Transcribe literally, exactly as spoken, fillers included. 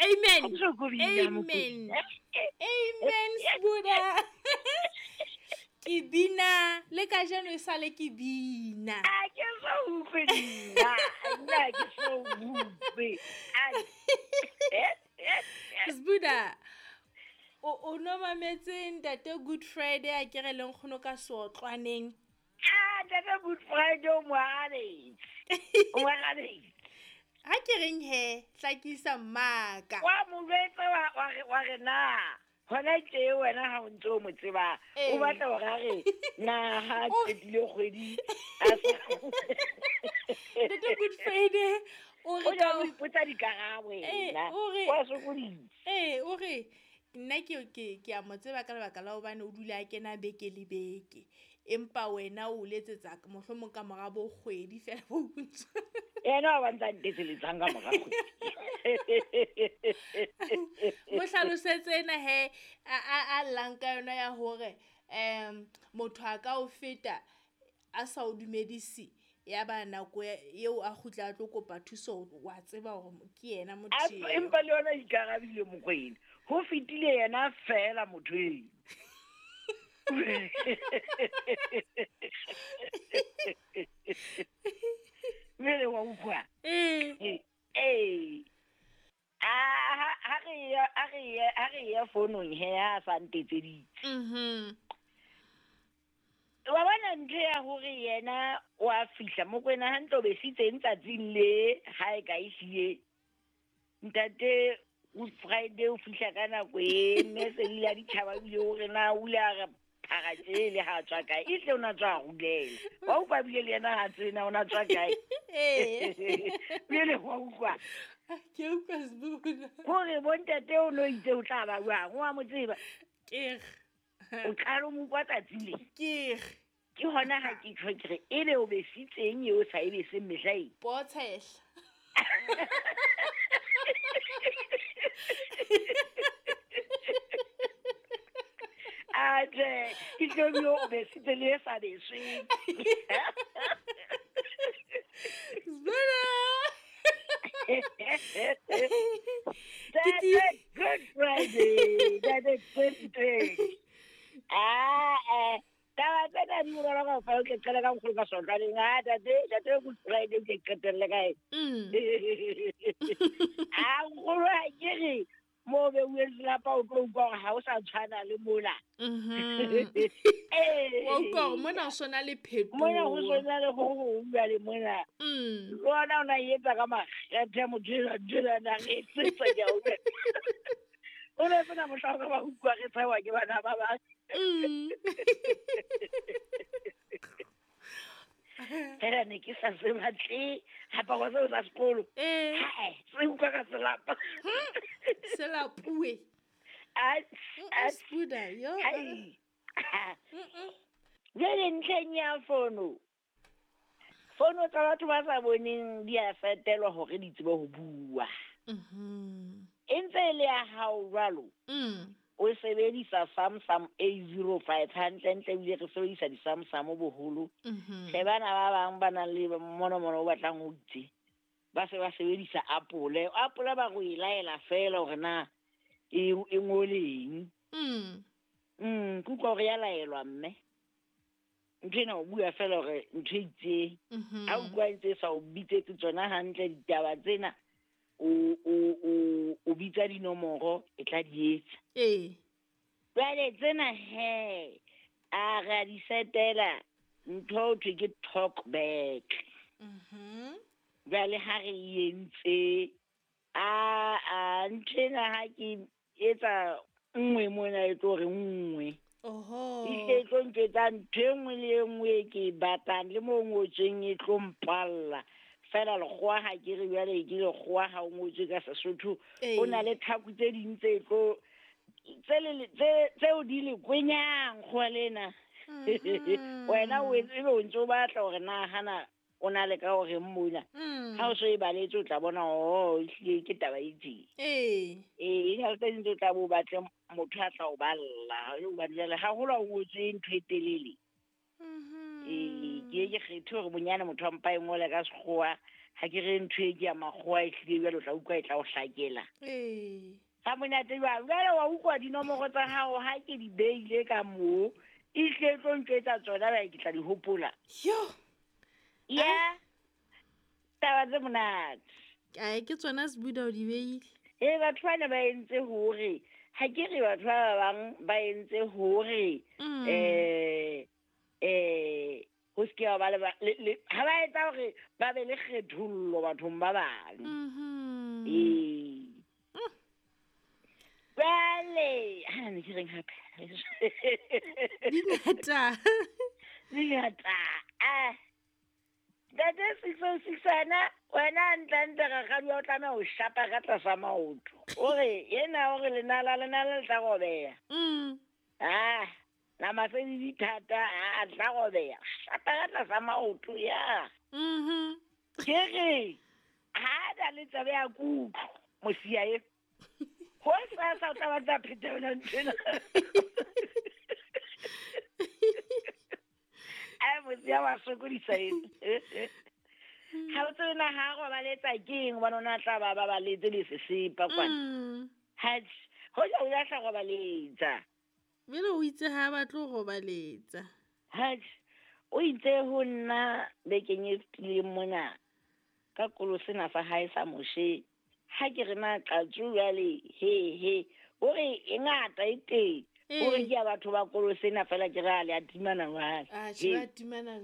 Amen. Amen. Amen, Sbuda. Ke bina le kajeno e sale ke bina. A ke so utlwe nna. Nna ke so utlwe. Sbuda. O o no mametse ntate Good Friday a ke re leng kgono ka seotlwaneng. Ah, ntate Good Friday o moarabetse. O moarabetse. Ha ke reng he, hlakisa mmaka. Wa mo jwetsa wa wa re wa re na. Hona tje wena ha o ntse o mo tseba, o batla hore a re na ha qetile kgwedi a sa. Ntate Good Friday o re ka o ipotsa dikarabo ena. Wa sokodisa. Eh, o re nna ke ke ke a mo tseba ka lebaka la hobane o dula a kena beke le beke. Empa wena o letsetsa mohlomong ka mora bo kgwedi fela bo ntse. Yena wa ntsa ntetseletsang ka mora kgwedi. Mo hlalosetse ena he a a llang ka yona ya hore um motho a ka o feta a sa o dumedise ya ba nako eo a kgutla a tlo kopa thuso wa tseba hore ke yena motho eo. Empa le yona ikarabile Mokwena. Ho fetile yena fela motho eo. Mmele wa utlwa. Eh. Eh. Ah, ha re ya ha re ya ha re ya fonong he a sa ntetseditse. Mhm. Wa bona ntho ya hore yena wa fihla Mokwena hantle o besitseng tsatsing le ha e ka e hlile. Ntate Good Friday o fihla ka nako e mme se le ya ditjhaba bile hore na o ile a re phara tjele ha tswa kae e tle o na tswa rulela. Wa utlwa bile le yena ha tsena o na tswa kae. Eh. Bile wa utlwa. Ke utlwa Sbuda. Hore bontate o no itse o tla ba jwang wa mo tseba. Ke o qala mo kwa tsatsi le. Ke ke hona ha ke tjho ke re ebe o besitseng eo sa e beseng mehla e. Potshehla. Ate, ke tlo bio o besitse le sa besweng. Sbuda. That's a Good Friday. That's a good day. Ah, eh. Taba tsena di bonolo kaofela, o ke qala ka nkgono ka sotlwaneng. Ah, tate, tate Good Friday o ke qetelle kae? Mm. Ah, nkgono ha ke re mo beuweng lelapa o tlo utlwa hore ha o sa tshwana le mola. Mhm. Eh. Wa utlwa hore mona ho sona le phetoho. Mona ho sona le ho hong jwale mona. Mm. Le ona o na etsa ka makgethe motho enwa ntho ena na re etsetsa ke a utlwa. O ne sena mohla o ka ba utlwa re tshewa ke bana ba bang. Mm. Fela ne ke sa se batle aparo seo sa sekolo. Eh. Hae, se utlwa ka selapa. Se lapuwe. A Mm, Sbuda, yo. Hai. Mm-mm. Jwale ntlheng ya fono. Fono tsa batho ba sa boneng di a fetelwa hore di tsebe ho bua. Mhm. E ntse e le ya hao jwalo. Mm. O sebedisa Samsung A zero five hantle ntle ebile re sebedisa di-Samsung boholo. Mhm. Hle bana ba bang ba nang le monomono o batlang ho itse. Ba se ba sebedisa Apple. Apple ba go e laela fela hore na e e ngoleng. Mm. Mm, ke utlwa hore ya laelwa mme. Ntho ena o bua fela hore ntho e itseng. Mhm. Ha o utlwa e ntse e sa o bitsetse tsona hantle ditaba tsena. O o o o bitsa dinomoro e tla di etsa. Eh. Jwale tsena he a re a di setela ntho ho thwe ke talk back. Mhm. Jwale ha re e entse a a ntho ena ha ke etsa nngwe mona e tlo re nngwe. Oho. E hle e tlo ntjwetsa ntho e nngwe le e nngwe e ke e batlang le mo ngotsweng e tlo mpalla. Fela lekgowa ha ke re jwale ke lekgowa ha o ngotswe ka Sesotho. Ee. O na le tlhaku tse ding tse tlo tse le tse tseo di le kwenyang kgowa lena. Mhm. Wena o etse ebe o ntse o batla hore na hana o na le ka hore mona. Mm. Ha o so e baletse o tla bona oh ehlile ke taba e tjena. Ee. Ee, e na le tse ding tse o tla bo batle motho a tla o balla. Hobane jwale haholo ha o ngotswe ntho e telele. Mhm. Ee, ke ye ke kgethe hore bonyane motho a mpa e ngole ka sekgowa Ha ke re ntho e ke ya makgowa e hlile jwale o tla utlwa e tla o hlakela. Ee. Ha monate jwang, jwale wa utlwa dinomoro tsa hao ha ke di beile ka moo, e hlile e tlo ntjwetsa tsona jwale ke tla di hopola. Yo. Ya. Taba tse monate. Ae ke tsona Sbuda o di beile. Ee, batho bana ba entse hore ha ke re batho ba bang ba entse hore Mm. eh eh ho se ke ha ba le ba- le- le- ha ba etsa hore ba be le kgethollo bathong ba bang. Mhm. Ee. Jwale, ha ne ke reng hape? Di ngata. Di ngata. Ah. Ntate six oh six wena, wena hantle-hantle rakgadi wa o tlameha ho shapa ka tlasa maoto. O re, ena o re lenala, lenala le tla robeha. Mm. Ah, nama tse di thata, ah, tla robeha. Shapa ka tlasa maoto, ya. Mhm. Ke re, ha na le tsebe ya kutlo, mosia e. Ho sa sa o tla batla pheta yona nthwena. Ai, mosia wa sokodisa ena. Ha o tsebe na ha robaletsa ke eng, hobane o na tla ba ba baletse le sesepa kwana. Mm. Atjhe, hoja o ya tla robaletsa. Jwale o itse ha ba tlo robaletsa. Atjhe, o itse ho nna bekeng e fetileng mona ka kolo sena sa hae sa Moshe. Ha ke re na qatsu jwale, he, he. O re e ngata e teng. O re Ee. ke ya batho ba kolo sena feela ke re a le a timana jwale. Atjhe, He. ba timana jwale.